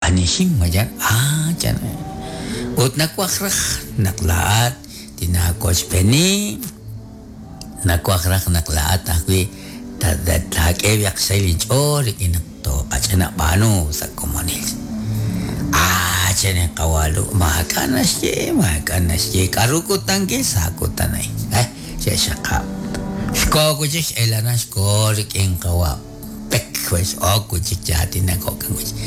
Anihin mayan ah chan ut nawaj raj naq laa'at tinaawochb'eeni nawaj raj naq laa'at ajwi' taak'e b'ayaq xsahil inch'ool rik'in naq tooqach'ina b'aanu sa' komonil. Ah chan li qawa' Lu' maak'a' naxye maak'a' naxye k'aru kutankil sa' kutan a'in eh xe'xxaqab'. Xkoho wi' chik x'el aran xkoho rik'in qawa' Pek x'ok wi' chik chi aatinak jo'kan wi' chik.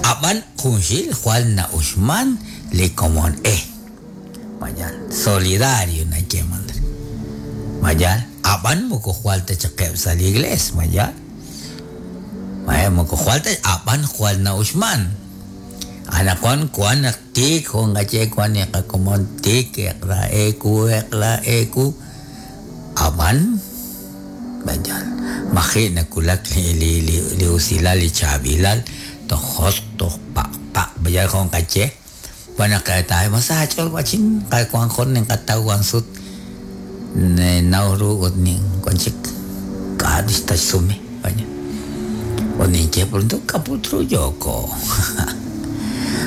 Ab'an junxil jwal na'uxman li komon e. Mayal, solidario nayeeman re. Mayal, ab'an moko jwal ta chaqeb' sa' li iglees, mayal. Moko jwal ta, ab'an jwal na'uxman. Anaqwan wan naq tiik jo' nqaye wan li qakomon tiik eq'la eewu, eq'la eewu, ab'an mayal, maji' nawulak li usilal li chaab'ilal toj josq' toj paq'paq' mayal jo' nqaye. Wan naq taa'e ma sa aach'ool wa'chin wan jun ninqataw wan sut ninnaw ru ut wan chik k'a' tixsume ut ninye pronto k'a' put ru yooko.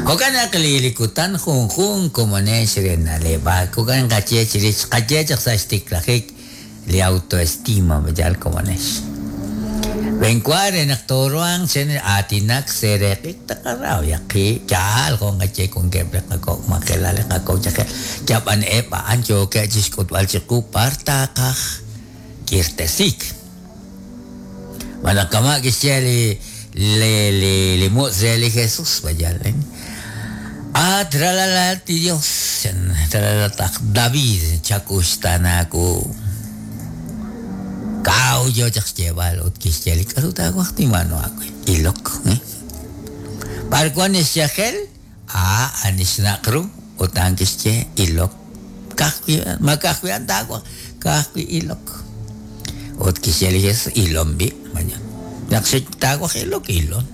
Jo'kan naq li kutan junjunq komonex re na'leb'ak jo'kan nqaye chirix xqaye chaq sa' xtiklajik li autoestima mayal komonex. B'enwa re naq tooruhanq chi aatinak seeraq'ik taqaraw yaqi yaal jo' nqaye wankeb' li qakok' majelal li qakok' yajel yab'an eb' a'an yookeb' chi xk'utb'al chiqu b'ar taqaj k'irtesiik. Malaj kama' kixye li li li li mutz' re li Jesús mayal At ralalat li Dios ralalat aj David chakuxtaana wu. Kaw yo chaq xyeeb'al ut kixye li k'aru taawaj tinb'aanu aawe ilok. B'ar wank li xyajel a'an li xnaq' ru ut a'an kixye ilok ka'ajwi' ma ka'ajwi' a'an taawaj ka'ajwi' ilok. Ut kixye li Jesús ilon b'i' naq taawaj ilok ilon.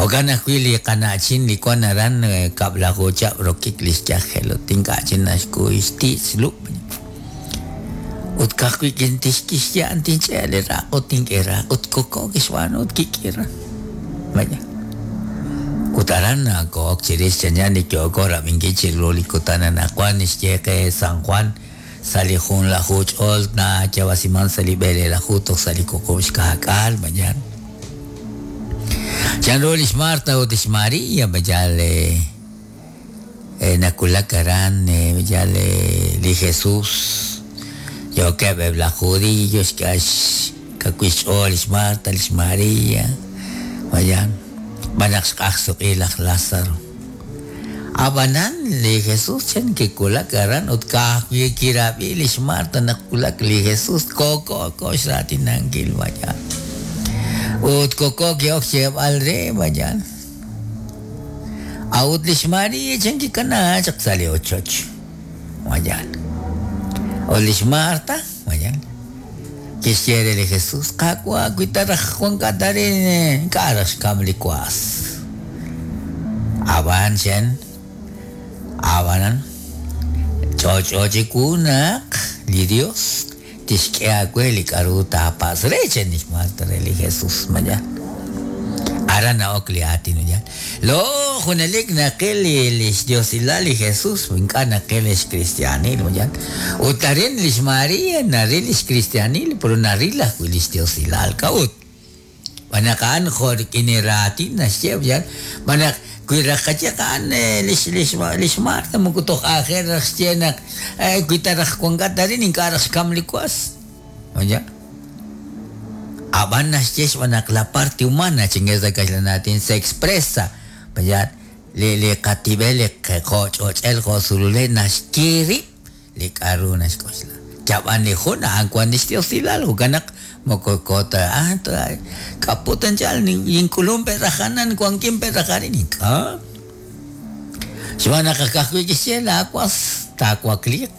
Jo'kan ajwi' li qana'chin li wank aran kab'laju chihab' rokik li xyajel ut ink'a' chik naxkuy xti' xlub'. Ut ka'ajwi' kixye a'an tinch'e' li raq' ut tink'e raq' ut koko kixb'aanu ut kik'ira. Vaya. Ut aran nako'ok chirix chanchan li yooko rab'inkil chiru li kutan anaqwan xye qe San Juan sa' li junlaju ch'ol nayaab'asiman sa' li b'eleelaju toj sa' li wuqub' xka'k'aal mañana. Chanru lix Marta ut lix María mayal nawulak aran mayal li Jesús yookeb' eb' laj judío xkawil xch'ool lix Marta lix María mayan xb'aan naq xq'ajsuq'i laj Lázaro. Ab'anan li Jesús chan kiwulak aran ut ka'ajwi' kirab'i lix Marta naq wulak li Jesús koko ko xraatinankil mayan. Ut koko ki'ok xyeeb'al re mayan. A'ut lix María chan kikanaak chaq sa' li ochoch mayan. Ut lix Marta mayan kixye re li Jesús, Qaawa' wi ta raj wankat arin ink'a' raj xkam li was. Ab'an chan, ab'anan ch'olch'o chiwu naq li Dios tixk'e aawe li k'aru taapatz' re chan lix Marta re li Jesús mayan. Aran na'ok li aatin mayan. Lo junelik naqil li xdiosilal li Jesús ink'a' naqil li xkristiaanil mayan. Ut arin lix María naril li xkristiaanil pero naril ajwi' li xdiosilal k'a'ut. Xb'aan naq a'an jo' rik'in li raatin naxye mayan xb'aan naq wi raj qaye a'an lix lix lix Marta moko toj aajel raj xye naq wi ta raj wankat arin ink'a' raj xkam li was. Mayan. Ab'an naxye xb'aan naq la parte humana chinge sa' kaxlan aatin se expresa mayan li li qatib'el li jo' ch'och'el jo' sululel naxye rib' li k'aru naxk'oxla. Yab'an li jun a'an wan li xdiosilal jo'kan naq moko ko ta ah k'a put anchal nink'ulunk pe' raj anan wankin pe' raj arin ink'a'. Xb'aan naq ka'ajwi' kixye laawas taawakliiq.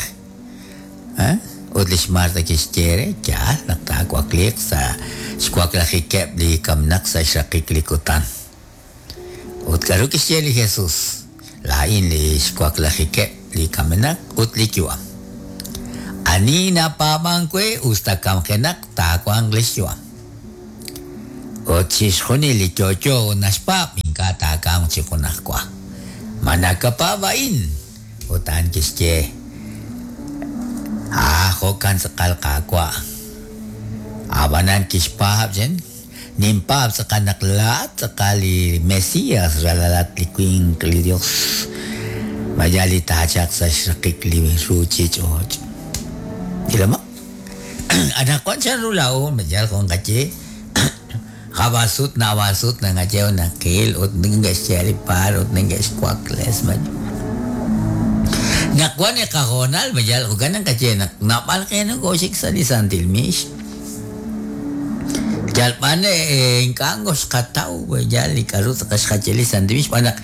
Ut lix Marta kixye re, yaal naq taawakliiq sa' xwaklajikeb' li kamenaq sa' xraqik li kutan. Ut k'aru kixye li Jesús? Laa'in li xwaklajikeb' li kamenaq ut li yu'am. Ani napaab'ank we us ta kamjenaq taawanq li xyu'am. Ut chixjunil li yo'yo naxpaab' ink'a' taakamq chi junajwa. Ma nakapaab' a'in? Ut a'an kixye, Aa, jo'kan tz'aqal Qaawa'. Ab'anan kixpaab' chan, Ninpaab' tz'aqal naq laa'at tz'aqal li Mesías, ralalat li winq li Dios, mayal li taachalq sa' xraqik li ruuchich'och'. Ilomaq. Anaqwan chanru laa'o mayal jo' nqaye, Jab'al sut naab'al sut naqaye naqil ut neke'xye li paar ut neke'xwakles ma Naq wan li qahoonal ma yal jo'kan naqaye naq naab'al qe nokooxik sa' li santil miix. Yal b'an ink'a' ngoxqataw yal li k'a'ru tz'aqal xqaye li santil miix xb'aan naq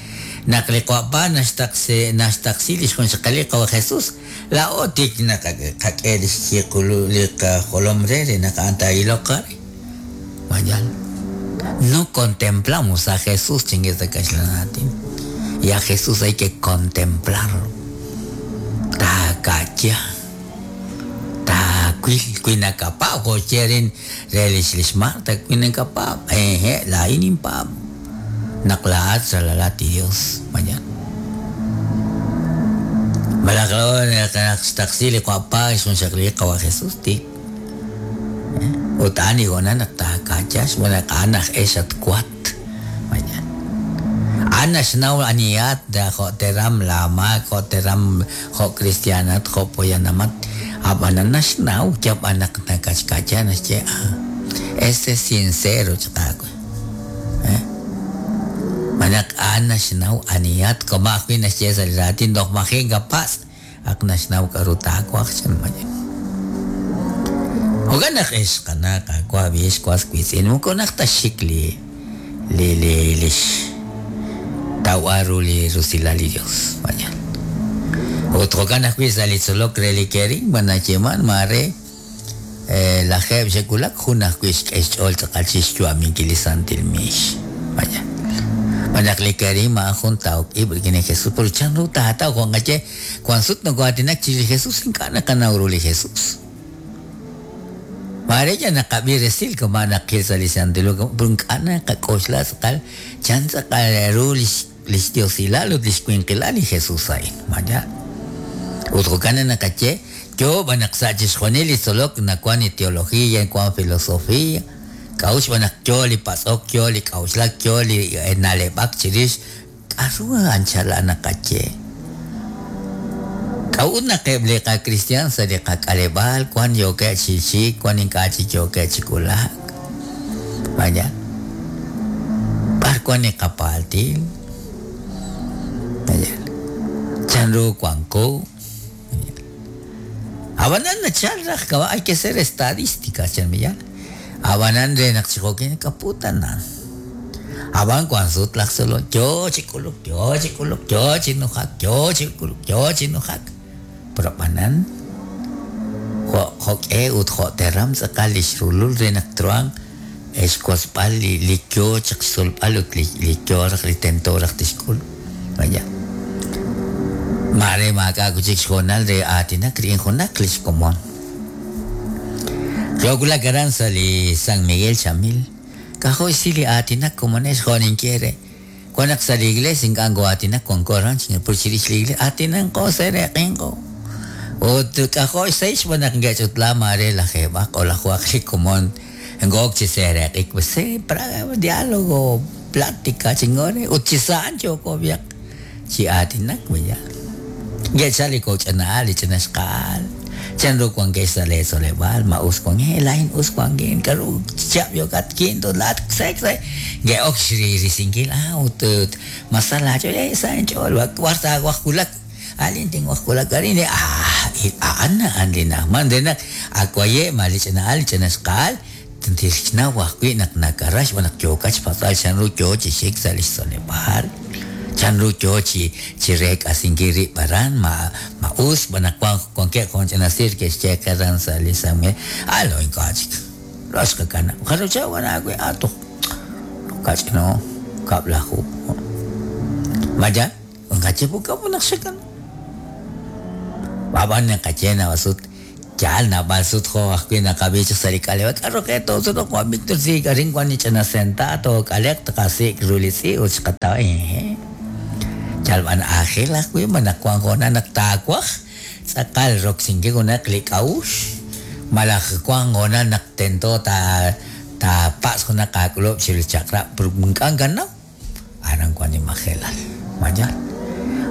naq li Qa'pa naxtaqsi naxtaqsi li xjunxaqalil li Qawa' Jesus laa'o tik naqak'e li xyiqul li qajolom re re naq a'an taa'iloq qe. Mayal. No contemplamos a Jesús, chingue sa kaxlan aatin. Y a Jesús hay que contemplarlo. Taaka'ya. Taawil wi nakapaab' jo' xye rin re lix lix Marta wi nakapaab' hehe' laa'in ninpaab' naq laa'at ralalat li Dios. Mayal. Malaj naq xtaqsi li Qaawa' xjunxaqli li Qawa' Jesús tik Ut a'an li hoonal naq taaka'ya xb'aan naq a'an aj e xatwat. A'an naxnaw anihat, jo' teram laamaak, jo' teram jo' kristiaanat, jo' poyanamat. Ab'anan naxnaw yal b'an naq nakatxka'ya naxye, ah, este es sincero chaq aawe. Xb'aan naq a'an naxnaw anihat, kama' ajwi' naxye sa' li raatin toj maji' kapatz'. Ak naxnaw k'a'ru taawaj, chan Mayen. Jo'kan naq ex qana' qaawa' b'ex was wiitz'in, moko najt ta xik li li li lix tawb'al ru li rusilal li Dios. Mayen. Ut jo'kan ajwi' sa' li tzolok re li kerigma nayeeman maare Lajeeb' xe'wulak, jun ajwi' xk'e xch'ool tz'aqal chi xyu'aminkil li santil miix. Vaya. Xb'aan naq li kerigma a'an jun tawok ib' rik'in li Jesús. Pero chanru taataw? Jo' nqaye, wank sut nokoo'aatinak chirix li Jesús, ink'a' naqanaw ru li Jesús. Maare yal naqab'i resil kama' naqil sa' li Santil Hu, pero ink'a' naqak'oxla tz'aqal chan tz'aqal ru li xDiosilal ut li xwinqilal li Jesús a'in. Vaya. Ut jo'kan naq naqaye, Yoo b'an naq sa' chixjunil li tzolok nawank li teología, wank filosofía, k'a'ut xb'aan naq yoo li patz'ok, yoo li k'a'uxlak, yoo li na'leb'ak chirix k'a'ru anchal naqaye. K'a'ut naq eb' li qakristiaan sa' li qak'aleb'aal wank yookeb' chi xik, wank ink'a' chik yookeb' chi wulak? Vaya, b'ar wank li qapaaltil? Vaya, chanru wanko? Ab'anan nachal raj kama' hay que ser estadística, chan Millán. Ab'anan re naq chi jo'kin kaputanan. Ab'an wank sut laj tzolom yo chi k'uluk, yo chi k'uluk, yo chi nujak, yo chi k'uluk, yo chi nujak. Pero ab'anan jo' jo'k'e ut jo' teram tz'aqal li xrulul re naq truhanq xwotzb'al li yo chaq xtzolb'al ut li yo raj li tento raj tixk'ul. Vaya. Maare maak'a' wi' chik xhoonal re aatinak rik'in junaq li xkomon. Yoowulak aran sa' li San Miguel Chamil, k'ajo' xsi li aatinak komonex jo' ninye re. Wan naq sa' li iglees ink'a' nkoo'aatinak wanko aran chi chirix li iglees, aatinanqo, seeraq'inqo. Ut k'ajo' xsahil xb'aan naq nke'ch'utla maare lajeeb'aq o lajuhaq li komon nko'ok chi seeraq'ik, pues se diálogo, plática chi nk'ore ut chi sa' a'an yooko b'ayaq chi aatinak, vaya. Nke'chal li kok' ch'ina'al, li ch'ina xqa'al, Chanru wankex sa' leetzoleb'aal? Ma us wankin? Laa'in us wankin. K'aru chihab' yookat? Quinto, laa'at sexto. Nke'ok xrisinkil. Ah, ut ma sa laach'ool? Eh, sa inch'ool. B'ar taawaj wulak? Alin tinwaj wulak arin. Ah, a'an a'an li na'ajman re naq ak waye' ma li ch'ina'al, li ch'ina xqa'al Tixnaw ajwi' naq nakara xb'aan naq yookat xpatz'b'al chanru yoo chi xik sa' lix tzoleb'aal, chanru yoo chi chi reek'asinkil rib' aran, ma ma us xb'aan naq wan wankeb' jun ch'ina siir ke'xye qe aran sa' li San Miguel, ah lo ink'a' chik, lo xqakanab', jarub' chihab' wan aawe, ah toj kach'ino, kab'laju. Ma yaal? Nqaye pukab' naq xakanab'. Ab'an naqaye naab'al sut. Yaal naab'al sut jo' ajwi' naqab'i chaq sa' li k'aleb'aal k'aru qe toosutuq Juan Víctor sik arin wan li ch'ina sentaad took'aleq tqasik' ru li tz'i' ut xqataw yal b'an aajel ajwi' ma naq wan hoonal naq taawaj tz'aqal roksinkil junaq li k'a'uxl malaj wan hoonal naq tento taapatz' junaq aak'ulub' chiru li chaq'rab' ink'a' nakanaw aran wan li majelal ma yaal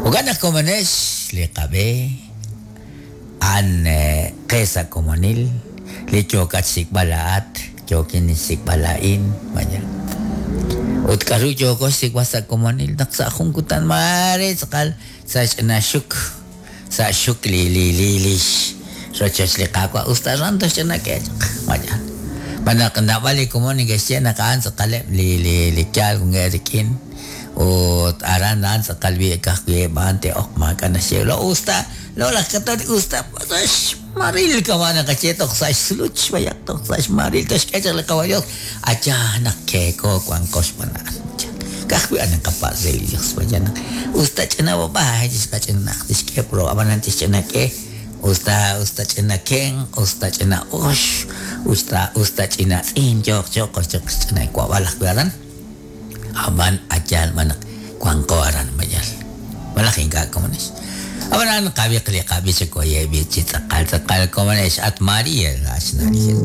jo'kan naq komonex li qab'e a'an qe sa' komonil li yookat xsik'b'al laa'at yookin xsik'b'al laa'in ma yaal ut k'aru yooko xsik'b'al sa' komonil naq sa' jun kutan maare tz'aqal sa' xch'ina xuk sa' xuk li li li lix rochoch li Qaawa' usta aran toxch'ina k'e chaq ma yaal xb'aan naq naab'al li komon neke'xye naq a'an tz'aqaleb' li li li yaal wankeb' rik'in ut aran a'an tz'aqal wi' ka'ajwi' eb' a'an te'oq maak'a' naxye lo usta lo laj katolik usta sa' xmaril kama' naqaye toj sa' xsluch b'ayaq toj sa' xmaril toxk'e chaq li Qawa' Dios acha naq keeko wanqo xb'aan a'an ka'ajwi' a'an naqapatz' re li Dios vaya naq usta ch'ina b'ab'ay tixqach'inaq tixk'e pro ab'anan tixch'ina k'e usta usta ch'ina kenq usta ch'ina ox usta usta ch'ina tz'in yooq yooq choq xch'ina wab'al ajwi' aran ab'an ayaal b'an naq wanqo aran mayal malaj ink'a' komonex ab'anan qab'iq li qab'i chi koye'b'i chi tz'aqal tz'aqal komonex at María la xna' li Jesús.